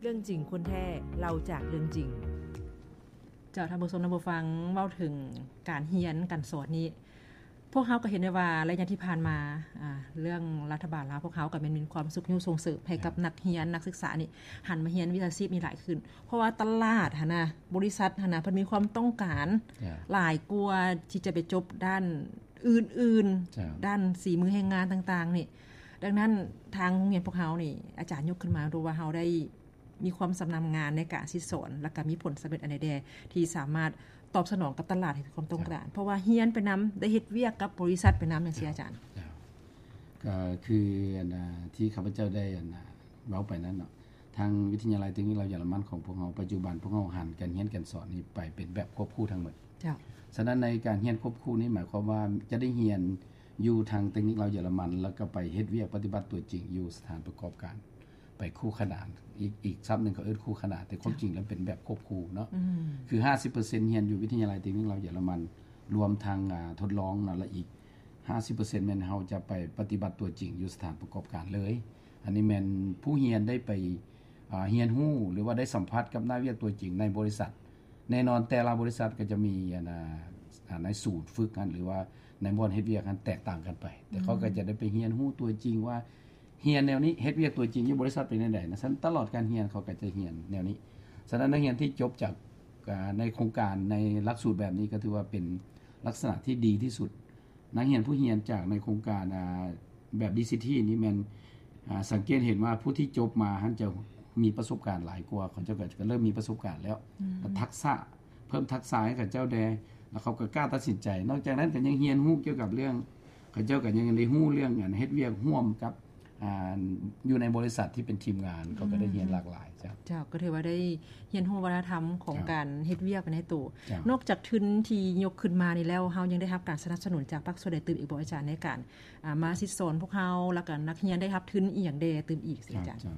ເລື່ອງຈິງຄົນແທ້ ເລົ່າຈາກເລື່ອງຈິງ. ເຈົ້າ ທ່ານຜູ້ຊົມ ທ່ານຜູ້ຟັງ ເວົ້າເຖິງການຮຽນການສອນນີ້ ພວກເຮົາກໍເຫັນໄດ້ວ່າໄລຍະທີ່ຜ່ານມາ ອາ ເລື່ອງລັດຖະບານລາວພວກເຮົາກໍແມ່ນມີຄວາມຊຸກຍູ້ສົ່ງເສີມໃຫ້ກັບ ເຈົ້າ ນັກຮຽນນັກສຶກສານີ້ຫັນມາຮຽນວິຊາຊີບນີ້ຫຼາຍຂຶ້ນ ເພາະວ່າຕະຫຼາດຫັ້ນນະ ບໍລິສັດຫັ້ນນະ ເພິ່ນມີຄວາມຕ້ອງການ ເຈົ້າ ຫຼາຍກວ່າທີ່ຈະໄປຈົບດ້ານອື່ນໆ ເຈົ້າ ດ້ານສີມືແຮງງານຕ່າງໆນີ້. ດັ່ງນັ້ນ ທາງໂຮງຮຽນພວກເຮົານີ້ ອາຈານຍົກຂຶ້ນມາດູວ່າເຮົາໄດ້ ມີຄວາມຊຳນານງານໃນການສິດສອນ ແລ້ວກໍມີຜົນສຳເລັດອັນໃດແດ່ ທີ່ສາມາດຕອບສະໜອງກັບຕະຫຼາດທີ່ມີຄວາມຕ້ອງການ ເຈົ້າ ເພາະວ່າຮຽນໄປນຳ ໄດ້ເຮັດວຽກກັບບໍລິສັດໄປນຳ ຈັ່ງຊີ້ ເຈົ້າ ອາຈານ. ເຈົ້າ ກໍຄືອັນນາ ທີ່ຂ້າພະເຈົ້າໄດ້ອັນນາ ເວົ້າໄປນັ້ນເນາະ ທາງວິທະຍາໄລເຕັກນິກລາວເຢຍລະມັນຂອງພວກເຮົາ ປັດຈຸບັນພວກເຮົາຫັນການຮຽນການສອນນີ້ໄປເປັນແບບຄວບຄູ່ທັງໝົດ. ເຈົ້າ ສະນັ້ນໃນການຮຽນຄວບຄູ່ນີ້ ໝາຍຄວາມວ່າຈະໄດ້ຮຽນຢູ່ທາງເຕັກນິກລາວເຢຍລະມັນ ແລ້ວກໍໄປເຮັດວຽກປະຕິບັດຕົວຈິງຢູ່ສະຖານປະກອບການ ໄປຄູ່ຂະໜານ ອີກ ອີກສັບໜຶ່ງເຂົາເອີ້ນຄູ່ຂະໜານ ແຕ່ຄວາມ ເຈົ້າ ຈິງແລ້ວເປັນແບບຄວບຄູ່ເນາະ. ອືມ ຄືຫ້າສິບເປີເຊັນຮຽນຢູ່ວິທະຍາໄລເຕັກນິກລາວເຢຍລະມັນ ລວມທັງ ອາ ທົດລອງເນາະ ແລະ ອີກຫ້າສິບເປີເຊັນແມ່ນເຮົາຈະໄປປະຕິບັດຕົວຈິງຢູ່ສະຖານປະກອບການເລີຍ. ອັນນີ້ແມ່ນຜູ້ຮຽນໄດ້ໄປ ອາ ຮຽນຮູ້ ຫຼືວ່າໄດ້ສຳຜັດກັບໜ້າວຽກຕົວຈິງໃນບໍລິສັດ. ແນ່ນອນແຕ່ລະບໍລິສັດກໍຈະມີອັນນາ ອາ ໃນສູນຝຶກຫັ້ນ ຫຼືວ່າໃນບ່ອນເຮັດວຽກຫັ້ນແຕກຕ່າງກັນໄປ ແຕ່ເຂົາກໍ ອືມ ຈະໄດ້ໄປຮຽນຮູ້ຕົວຈິງວ່າ ຮຽນແນວນີ້ ເຮັດວຽກຕົວຈິງຢູ່ບໍລິສັດເປັນແນວໃດນະ. ສະນັ້ນຕະຫຼອດການຮຽນເຂົາກໍຈະຮຽນແນວນີ້. ສະນັ້ນນັກຮຽນທີ່ຈົບຈາກ ອາ ໃນໂຄງການໃນຫຼັກສູດແບບນີ້ ກໍຖືວ່າເປັນລັກສະນະທີ່ດີທີ່ສຸດ. ນັກຮຽນຜູ້ຮຽນຈາກໃນໂຄງການ ອາ ແບບ ດີຊີທີ ນີ້ແມ່ນ ອາ ສັງເກດເຫັນວ່າຜູ້ທີ່ຈົບມາຫັ້ນຈະມີປະສົບການຫຼາຍກວ່າ ເຂົາເຈົ້າກໍ ກໍເລີ່ມມີປະສົບການແລ້ວ ອືມ ແລະ ທັກສະ ເພີ່ມທັກສະໃຫ້ເຂົາເຈົ້າແດ່ ແລ້ວເຂົາກໍກ້າຕັດສິນໃຈ. ນອກຈາກນັ້ນກໍຍັງຮຽນຮູ້ກ່ຽວກັບເລື່ອງ ເຂົາເຈົ້າກໍຍັງໄດ້ຮູ້ເລື່ອງ ອັນ ເຮັດວຽກຮ່ວມກັບ ອາ ຢູ່ໃນບໍລິສັດທີ່ເປັນທີມງານ ເຂົາກໍໄດ້ຮຽນ ອືມ ຫຼາກຫຼາຍ. ເຈົ້າ ເຈົ້າ ກໍຖືວ່າໄດ້ຮຽນຮູ້ວັດທະນະທຳຂອງ ເຈົ້າ ການເຮັດວຽກໄປໃນໂຕ. ເຈົ້າ ນອກຈາກທຶນທີ່ຍົກຂຶ້ນມານີ້ແລ້ວ ເຮົາຍັງໄດ້ຮັບການສະໜັບສະໜູນຈາກພາກສ່ວນໃດຕື່ມອີກບໍ່ ອາຈານ ໃນການ ອາ ມາສິດສອນພວກເຮົາ ແລ້ວກໍນັກຮຽນໄດ້ຮັບທຶນອີ່ຫຍັງແດ່ຕື່ມອີກ ເຈົ້າ ອາຈານ? ເຈົ້າ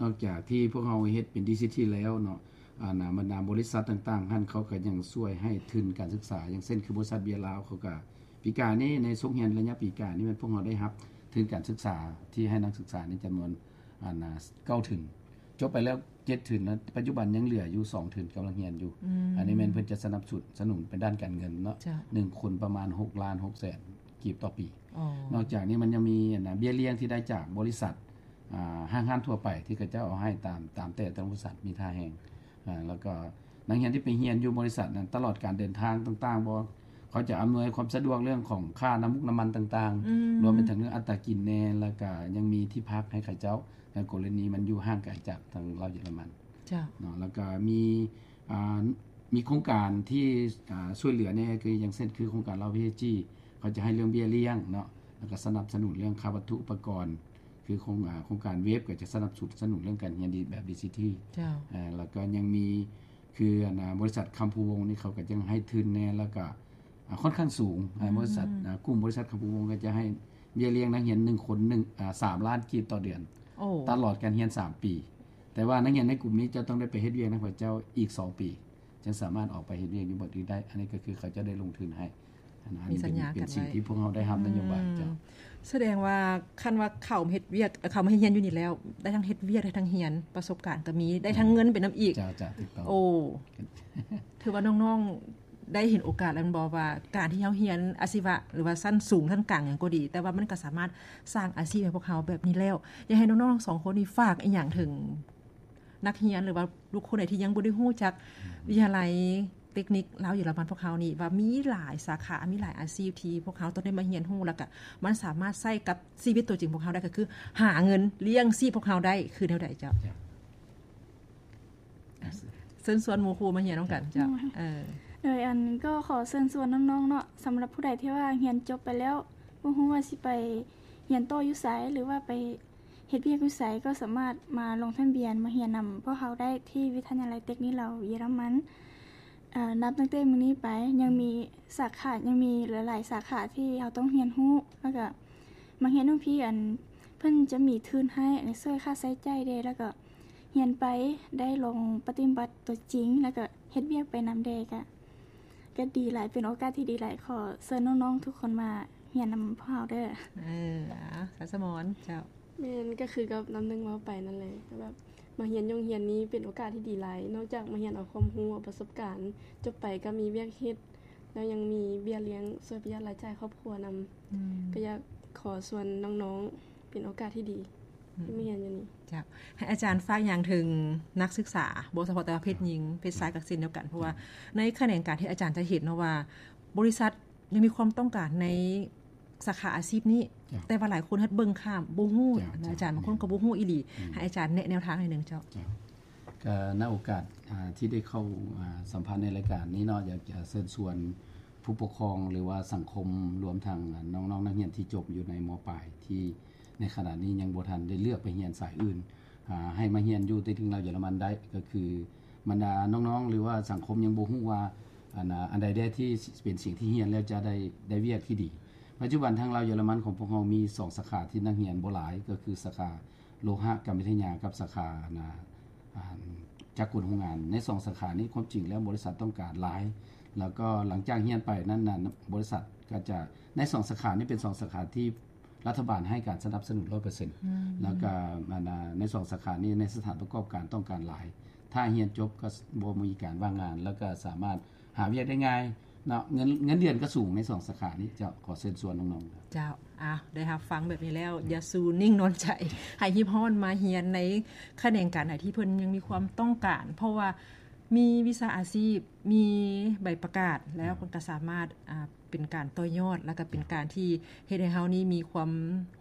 ນອກຈາກທີ່ພວກເຮົາເຮັດເປັນ ດີຊີທີ ແລ້ວເນາະ ອັນນາ ບັນດາບໍລິສັດຕ່າງໆຫັ້ນ ເຂົາກໍຍັງຊ່ວຍໃຫ້ທຶນການສຶກສາ ຢ່າງເຊັ່ນ ຄືບໍລິສັດເບຍລາວ ເຂົາກໍ ປີກາຍນີ້ ໃນສົກຮຽນໄລຍະປີກາຍນີ້ ແມ່ນພວກເຮົາໄດ້ຮັບທຶນການສຶກສາທີ່ໃຫ້ນັກສຶກສາໃນຈຳນວນ ອັນນາ ເກົ້າທຶນ ຈົບໄປແລ້ວເຈັດທຶນ ແລະ ປັດຈຸບັນຍັງເຫຼືອຢູ່ສອງທຶນກຳລັງຮຽນຢູ່. ອືມ ອັນນີ້ແມ່ນເພິ່ນຈະສະໜັບສະໜູນເປັນດ້ານການເງິນເນາະ ເຈົ້າ ໜຶ່ງຄົນປະມານຫົກລ້ານຫົກແສນກີບຕໍ່ປີ. ອໍ ນອກຈາກນີ້ມັນຍັງມີ ອັນນາ ເບ້ຍລ້ຽງທີ່ໄດ້ຈາກບໍລິສັດ ອາ ຫ້າງຮ້ານທົ່ວໄປທີ່ເຂົາເຈົ້າເອົາໃຫ້ຕາມ ຕາມແຕ່ລະບໍລິສັດມີທ່າແຮງ ອາ ແລ້ວກໍນັກຮຽນທີ່ໄປຮຽນຢູ່ບໍລິສັດນັ້ນ ຕະຫຼອດການເດີນທາງຕ່າງໆ ບໍ່ ເຂົາຈະອຳນວຍຄວາມສະດວກເລື່ອງຂອງຄ່ານ້ຳມັນ ນ້ຳມັນຕ່າງໆ ອືມ ລວມໄປເຖິງເລື່ອງອັດຕາກິນແດ່ ແລ້ວກໍຍັງມີທີ່ພັກໃຫ້ເຂົາເຈົ້າ ໃນກໍລະນີມັນຢູ່ຫ່າງໄກຈາກທາງລາວເຢຍລະມັນ ເຈົ້າ ເນາະ ແລ້ວກໍມີ ອາ ມີໂຄງການທີ່ ອາ ຊ່ວຍເຫຼືອແດ່ ຄືຢ່າງເຊັ່ນ ຄືໂຄງການລາວ ພີເອັສຈີ ເຂົາຈະໃຫ້ເລື່ອງເບ້ຍລ້ຽງເນາະ ແລ້ວກໍສະໜັບສະໜູນເລື່ອງຄ່າວັດຖຸອຸປະກອນ ຄືໂຄງ ອາ ໂຄງການເວັບກໍຈະສະໜັບສະໜູນເລື່ອງການຮຽນດີແບບ ດີຊີທີ ເຈົ້າ ອາ ແລ້ວກໍຍັງມີ ຄື ອັນນາ ບໍລິສັດຄຳພູວົງນີ້ ເຂົາກໍຍັງໃຫ້ທຶນແດ່ ແລ້ວກໍ ອາ ຂ້ອນຂ້າງສູງ ອືມ ອາ ບໍລິສັດ ອາ ກຸ່ມບໍລິສັດຄຳພູວົງກໍຈະໃຫ້ເບ້ຍລ້ຽງນັກຮຽນໜຶ່ງຄົນ ໜຶ່ງ ອາ ສາມລ້ານກີບຕໍ່ເດືອນ ໂອ້ ຕະຫຼອດການຮຽນສາມປີ. ແຕ່ວ່ານັກຮຽນໃນກຸ່ມນີ້ຈະຕ້ອງໄດ້ໄປເຮັດວຽກນຳເຂົາເຈົ້າອີກສອງປີ ຈຶ່ງສາມາດອອກໄປເຮັດວຽກຢູ່ບ່ອນອື່ນໄດ້. ອັນນີ້ກໍຄືເຂົາເຈົ້າໄດ້ລົງທຶນໃຫ້ ອັນ ອັນນີ້ເປັນ ເປັນສິ່ງທີ່ພວກເຮົາໄດ້ຮັບນະໂຍບາຍ ເຈົ້າ ອືມ ສະແດງວ່າຄັນວ່າເຂົາເຮັດວຽກ ເຂົາມາເຮັດຮຽນຢູ່ນີ້ແລ້ວ ໄດ້ທັງເຮັດວຽກ ໄດ້ທັງຮຽນ ປະສົບການກໍມີ ໄດ້ທັງເງິນໄປນຳອີກ ເຈົ້າ ເຈົ້າ ຖືກຕ້ອງ ໂອ້ ຖືວ່ານ້ອງໆ ໄດ້ເຫັນໂອກາດແລ້ວແມ່ນບໍ່ ວ່າການທີ່ເຮົາຮຽນອາຊີວະ ຫຼືວ່າຊັ້ນສູງ ຊັ້ນກາງຫຍັງກໍດີ ແຕ່ວ່າມັນກໍສາມາດສ້າງອາຊີບໃຫ້ພວກເຮົາແບບນີ້ແລ້ວ. ຢາກໃຫ້ນ້ອງໆສອງຄົນນີ້ຝາກອີ່ຫຍັງເຖິງນັກຮຽນ ຫຼືວ່າບຸກຄົນໃດທີ່ຍັງບໍ່ໄດ້ຮູ້ຈັກ ອືມ ວິທະຍາໄລ ເຕັກນິກລາວເຢຍລະມັນພວກເຮົານີ້ ວ່າມີຫຼາຍສາຂາ ມີຫຼາຍອາຊີບທີ່ພວກເຮົາຕ້ອງໄດ້ມາຮຽນຮູ້ ແລ້ວກະມັນສາມາດໃຊ້ກັບຊີວິດຕົວຈິງພວກເຮົາໄດ້ ກໍຄືຫາເງິນລ້ຽງຊີບພວກເຮົາໄດ້ ຄືແນວໃດເຈົ້າ? ເຊີນຊວນໝູ່ຄູ່ມາຮຽນນຳກັນເຈົ້າ. ໂດຍ ອັນກໍຂໍເຊີນຊວນນ້ອງໆເນາະ ສຳລັບຜູ້ໃດທີ່ວ່າຮຽນຈົບໄປແລ້ວ ບໍ່ຮູ້ວ່າຊິໄປຮຽນຕໍ່ຢູ່ໃສ ຫຼືວ່າໄປເຮັດວຽກຢູ່ໃສ ກໍສາມາດມາລົງທະບຽນມາຮຽນນຳພວກເຮົາໄດ້ທີ່ວິທະຍາໄລເຕັກນິກລາວເຢຍລະມັນ. ເອີ ນັບຕັ້ງແຕ່ມື້ນີ້ໄປ ຍັງມີສາຂາ ຍັງມີຫຼາຍໆສາຂາທີ່ເຮົາຕ້ອງຮຽນຮູ້ ແລ້ວກະມາຮຽນນຳພີ່ ອັນ ເພິ່ນຈະມີທຶນໃຫ້ ອັນ ຊ່ວຍຄ່າໃຊ້ຈ່າຍແດ່ ແລ້ວກະຮຽນໄປໄດ້ລອງປະຕິບັດຕົວຈິງ ແລ້ວກະເຮັດວຽກໄປນຳແດ່ ກະ ກະດີຫຼາຍ ເປັນໂອກາດທີ່ດີຫຼາຍ. ຂໍເຊີນນ້ອງໆທຸກຄົນມາຮຽນນຳພວກເຮົາເດີ້. ເອີ ສາວສະໝອນ ເຈົ້າ. ແມ່ນ ກໍຄືກັບນ້ຳໜຶ່ງເວົ້າໄປນັ້ນແຫຼະ ແບບ ມາຮຽນຢູ່ໂຮງຮຽນນີ້ເປັນໂອກາດທີ່ດີຫຼາຍ, ນອກຈາກມາຮຽນເອົາຄວາມຮູ້, ເອົາປະສົບການ, ຈົບໄປກໍມີວຽກເຮັດ, ແລ້ວຍັງມີເບ້ຍລ້ຽງຊ່ວຍປະຢັດລາຍຈ່າຍຄອບຄົວນຳ. ອືມ ກໍຢາກຂໍຊວນນ້ອງໆ ເປັນໂອກາດທີ່ດີ ອືມ ທີ່ມາຮຽນຢູ່ນີ້. ເຈົ້າ ໃຫ້ອາຈານຝາກຫຍັງເຖິງນັກສຶກສາ, ບໍ່ສະເພາະແຕ່ວ່າເພດຍິງ, ເພດຊາຍກໍເຊັ່ນດຽວກັນ, ເພາະວ່າໃນຂະແໜງການທີ່ອາຈານຈະເຫັນເນາະວ່າ ບໍລິສັດຍັງມີຄວາມຕ້ອງການໃນ ສາຂາອາຊີບນີ້ ເຈົ້າ ແຕ່ວ່າຫຼາຍຄົນເຮັດເບິ່ງຂ້າມ ບໍ່ຮູ້ ເຈົ້າ ນະ ເຈົ້າ ອາຈານ, ບາງຄົນກໍບໍ່ຮູ້ອີ່ຫຼີ. ອືມ ໃຫ້ອາຈານແນະແນວທາງໃຫ້ໜຶ່ງເຈົ້າ. ເຈົ້າ ກໍໃນໂອກາດ ອ່າ ທີ່ໄດ້ເຂົ້າ ອ່າ ສຳພາດໃນລາຍການນີ້ເນາະ, ຢາກຈະເຊີນຊວນຜູ້ປົກຄອງ ຫຼືວ່າສັງຄົມ, ລວມທັງ ອ່າ ນ້ອງໆນັກຮຽນທີ່ຈົບຢູ່ໃນ ມ.ປາຍ ທີ່ໃນຂະນະນີ້ຍັງບໍ່ທັນໄດ້ເລືອກໄປຮຽນສາຍອື່ນ ອ່າ ໃຫ້ມາຮຽນຢູ່ໃນເຖິງລາວເຢຍລະມັນໄດ້, ກໍຄືບັນດານ້ອງໆ ຫຼືວ່າສັງຄົມຍັງບໍ່ຮູ້ວ່າ ອັນ ອັນໃດແດ່ທີ່ເປັນສິ່ງທີ່ຮຽນແລ້ວຈະໄດ້ ໄດ້ວຽກທີ່ດີ. ປັດຈຸບັນທາງລາວເຢຍລະມັນຂອງພວກເຮົາມີສອງສາຂາທີ່ນັກຮຽນບໍ່ຫຼາຍ, ກໍຄືສາຂາໂລຫະກຳມະວິທະຍາກັບສາຂາ ອັນ ອັນຈັກກົນໂຮງງານ. ໃນສອງສາຂານີ້ຄວາມຈິງແລ້ວບໍລິສັດຕ້ອງການຫຼາຍ, ແລ້ວກໍຫຼັງຈາກຮຽນໄປນັ້ນນະ ບໍລິສັດກໍຈະ ໃນສອງສາຂານີ້ເປັນສອງສາຂາທີ່ ລັດຖະບານໃຫ້ການສະໜັບສະໜູນຮ້ອຍເປີເຊັນ ອືມ ແລ້ວກໍ ອັນ ໃນສອງສາຂານີ້ໃນສະຖານປະກອບການຕ້ອງການຫຼາຍ, ຖ້າຮຽນຈົບກໍບໍ່ມີການວ່າງງານ ແລ້ວກໍສາມາດຫາວຽກໄດ້ງ່າຍເນາະ, ເງິນ ເງິນເດືອນກໍສູງໃນສອງສາຂານີ້. ເຈົ້າ ຂໍເຊີນຊວນນ້ອງໆ. ເຈົ້າ ອ້າວ ໄດ້ຮັບຟັງແບບນີ້ແລ້ວ ອືມ ຢ່າສູ່ນິ່ງນອນໃຈ, ໃຫ້ຮີບຮ້ອນມາຮຽນໃນຂະແໜງການໃດທີ່ເພິ່ນຍັງມີຄວາມຕ້ອງການ, ເພາະວ່າມີວິຊາອາຊີບ, ມີໃບປະກາດແລ້ວ ເພິ່ນກໍສາມາດ ອ່າ ເປັນການຕໍ່ຍອດ ແລ້ວກໍເປັນການທີ່ເຮັດໃຫ້ເຮົານີ້ມີຄວາມ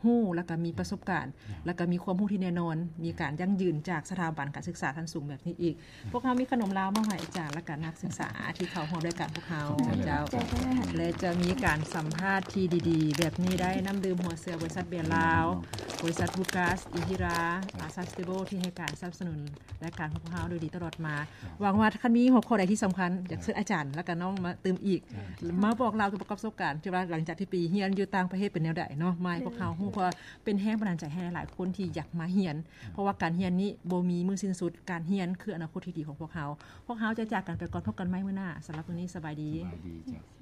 ຮູ້ ແລ້ວກໍມີປະສົບການ ແລ້ວກໍມີຄວາມຮູ້ທີ່ແນ່ນອນ, ມີການຢັ້ງຢືນຈາກສະຖາບັນການສຶກສາຂັ້ນສູງແບບນີ້ອີກ. ພວກເຮົາມີຂະໜົມລາວມອບໃຫ້ອາຈານ ແລ້ວກໍນັກສຶກສາທີ່ເຂົ້າຮ່ວມລາຍການພວກເຮົາ. ຂອບໃຈຫຼາຍໆ ເຈົ້າ ແລະ ຈະມີການສຳພາດທີ່ດີໆແບບນີ້ໄດ້, ນ້ຳດື່ມຫົວເສືອ ບໍລິສັດເບຍລາວ, ບໍລິສັດ Bukas Ihira, ອ່າ Sustainable ທີ່ໃຫ້ການສະໜັບສະໜູນ ລາຍການຂອງພວກເຮົາໂດຍດີຕະຫຼອດມາ. ຫວັງວ່າຄັນມີຫົວຂໍ້ໃດທີ່ສຳຄັນ ຢາກເຊີນອາຈານ ແລ້ວກໍນ້ອງມາຕື່ມອີກ, ມາບອກລາວກ່ຽວກັບປະສົບການທີ່ວ່າຫຼັງຈາກທີ່ໄປຮຽນຢູ່ຕ່າງປະເທດເປັນແນວໃດເນາະ ມາໃຫ້ພວກເຮົາຮູ້, ເພາະວ່າເປັນແຮງບັນດານໃຈໃຫ້ຫຼາຍໆຄົນທີ່ຢາກມາຮຽນ, ເພາະວ່າການຮຽນນີ້ບໍ່ມີມື້ສິ້ນສຸດ, ການຮຽນຄືອະນາຄົດທີ່ດີຂອງພວກເຮົາ. ພວກເຮົາຈະຈາກກັນໄປກ່ອນ, ພົບກັນໃໝ່ມື້ໜ້າ. ສຳລັບມື້ນີ້ ສະບາຍດີ. ສະບາຍດີເຈົ້າ.